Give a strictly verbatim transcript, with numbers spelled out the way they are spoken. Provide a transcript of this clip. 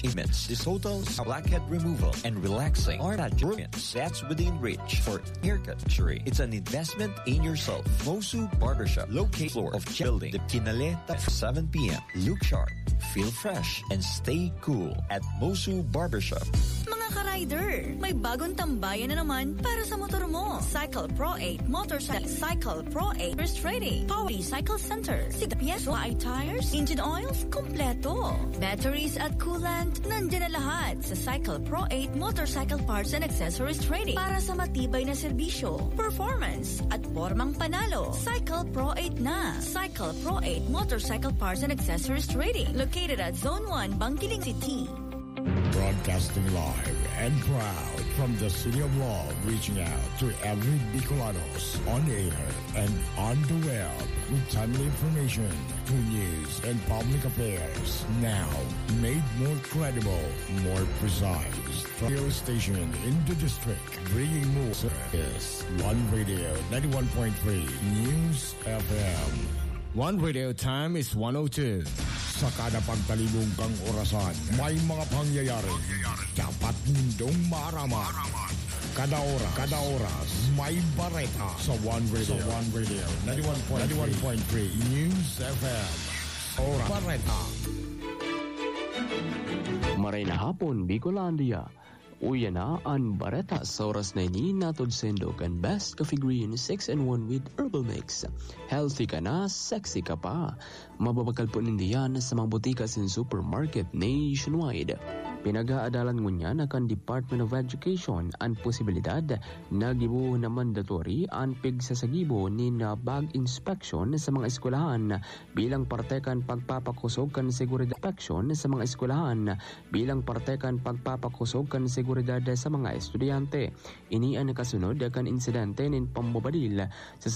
treatments, dissolvents, blackhead removal, and relaxing are at your sets within reach for haircut luxury. It's an investment in yourself. Mosu Barbershop, located floor of building, the Kinaleta, seven p m. Look sharp, feel fresh, and stay cool at Mosu Barbershop. Mga ka-rider, may bagong tambayan na naman para sa motor mo. Cycle Pro eight Motorcycle, Cycle Pro eight Restraining, Power Cycle Center, Sigapieso, ay tires, engine oils, kompleto. Batteries at coolant, nandiyan na lahat sa Cycle Pro eight Motorcycle Parts and Accessories Trading para sa matibay na serbisyo, performance, at pormang panalo. Cycle Pro eight na. Cycle Pro eight Motorcycle Parts and Accessories Trading, located at Zone one, Bangkiling City. Broadcasting live and proud from the City of Love, reaching out to every Bicolanos on air and on the web with timely information, true news, and public affairs. Now, made more credible, more precise. Radio station in the district, bringing more service. One Radio, ninety-one point three News F M. One Radio time is one oh two. Sa kada pagtalibong kang orasan, may mga pangyayari dapat nindong maaraman. Kada oras, kada oras, may bareta sa One Radio. Sa One Radio, ninety-one point three News F M. Oras. Bareta. Maray na hapon, Bicolandia. Uya na an bareta sa oras na ini, hatod saindo kan Best Coffee Green six in one with Herbal Mix. Healthy ka na, sexy ka pa. Mababakal po ninda yan sa mga botika asin supermarket nationwide. Pinag-aadalan ngunyan kan Department of Education an posibilidad na gibohon na mandatory an pigsasagibo nin bag inspection sa mga eskwelahan bilang parte kan pagpapakosog kan seguridad. Inspection sa mga eskwelahan bilang parte kan pagpapakosog kan seguridad sa mga estudyante. Ini an nakasunod kan insidente nin pambabadil sa